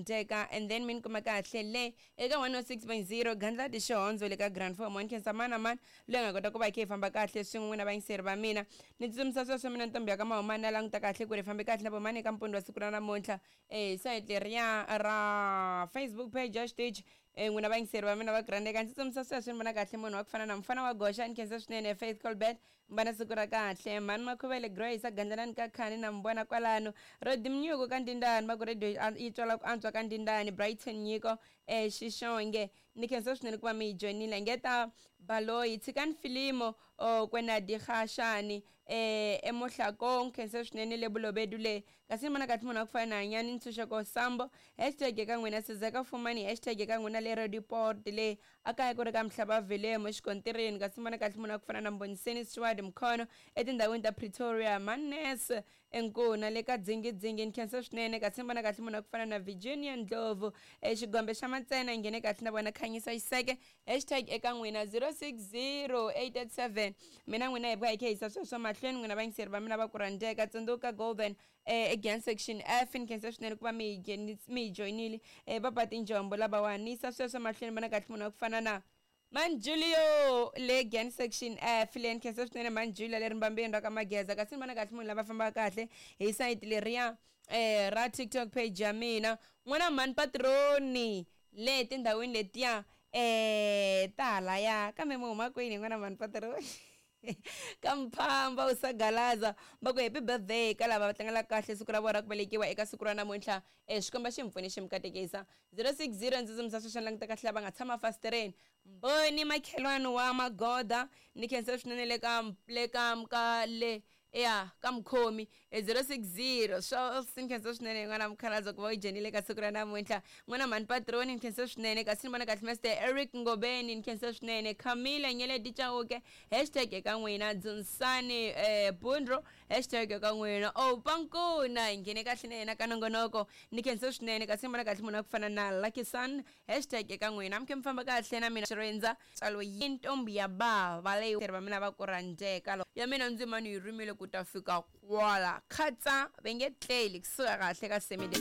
Teka and then mi ni kuma kahle le eka 106.0 Gandlati Xihondzo le ka Grand Four Mon khensa mani na mani loyi a nga kota ku va hi kha hi famba kahle swin'we n'wina vayingiseri va mina ni tsutsumisa sweswo mina ntombi ya ka Mahumani na languta kahle ku ri hi fambe kahle na vomani eka mpundzu wa siku ra namuntlha eh sayiti leriya ra Facebook page ya xitichi eh n'wina vayingiseri va mina va Grand eka ndzi tsutsumisa sweswo ni vona kahle munhu wa ku fana na mufana wa goxa ni khensa swinene Faith Colbert Mbana siku ra kahle. Mhani Makhuvele Grace a Gandzelani ka Khani na mi vona kwalano. Rodi Mnyuku ka Ndindani va ku radio yi twala ku antswa ka Ndindani. Brighton Nyiko eh Xixonge ni khensa swinene ku va mi yi joinile. Ngeta Baloyi tshikani filimo oh kwena Dikgashane eh eMohlakong khensa swinene le Bolobedu le. Kasi ni vona kahle munhu wa ku fana na Hanyani Ntshunxeko Sambo hashtag eka n'wina Sizeka Fumani hashtag eka n'wina le Roodepoort le. A kaya ku ri ka Mhlabavhelemu exikontirini, kasi vona kahle munhu a ku fana na Mboniseni Steward Mkhono etindhawini ta Pretoria, Mannes eNkuna le ka Dzingidzingi. Ni khensa swinene, kasi vona kahle munhu a ku fana na Virginia Ndlovu eXigombe xa Matsena. Hi nghene kahle na vona Khanyisa Xiseke. Hashtag eka n'wina 060887. Mina n'wina hi vuya hi kha hi yisa sweswo mahlweni n'wina vayingiseri va mina va ku rhandzeka. Tsundzuka Golden Again section F ni khensa swinene ku va mi hi mi hi joyinile eh, va ba tinjombo lavawani ni yisa sweswo mahlweni vona kahle munhu wa ku fana na Man Julio le again section F le ni khensa swinene Man Julio le rimbambeni ra ka Mageza kasi ni vona kahle munhu lava fambaka kahle hi sayiti leriya eh, ra TikTok page ya mina n'wana mhani patroni le tindhawini letiya eh ta halaya kambe mi huma kwini n'wana mhani patroni ka mphamba u sagalaza va ku happy birthday ka lava va tlangelaka kahle siku ra vona ra ku velekiwa eka siku ra namuntlha e xikomba xi mi pfune xi mi katekisa 060 ndzi dzumisa sweswi ni languta kahle lava nga tshama fasitereni mboni makhelwani wa magoda ni khensa swinene le ka le ka ka le ya ka mukhomi e 060 swo ni khensa swinene n'wana mukhalabye ku va u dzhenile ka siku ra namuntlha n'wana mhani patroni ni khensa swinene kasi ni vona kahle master Eric Ngobeni ni khensa swinene Camilla Nyeleti Chauke hashtag eka n'wina Dzunisani eh, Bundro hashtag eka n'wina Opankuna hi nghene kahle na yena ka nongonoko ni khensa swinene kasi ni vona kahle munhu wa ku fana na Lucky Sun hashtag eka n'wina mi khe mi famba kahle na mina Xirindza Tsalo yi ntombi ya bava leyi va mina va ku rhandzeka ya mina ndzimani yi rimile ku ta fika kwala khatsa va nge tleli kusuka kahle ka semide.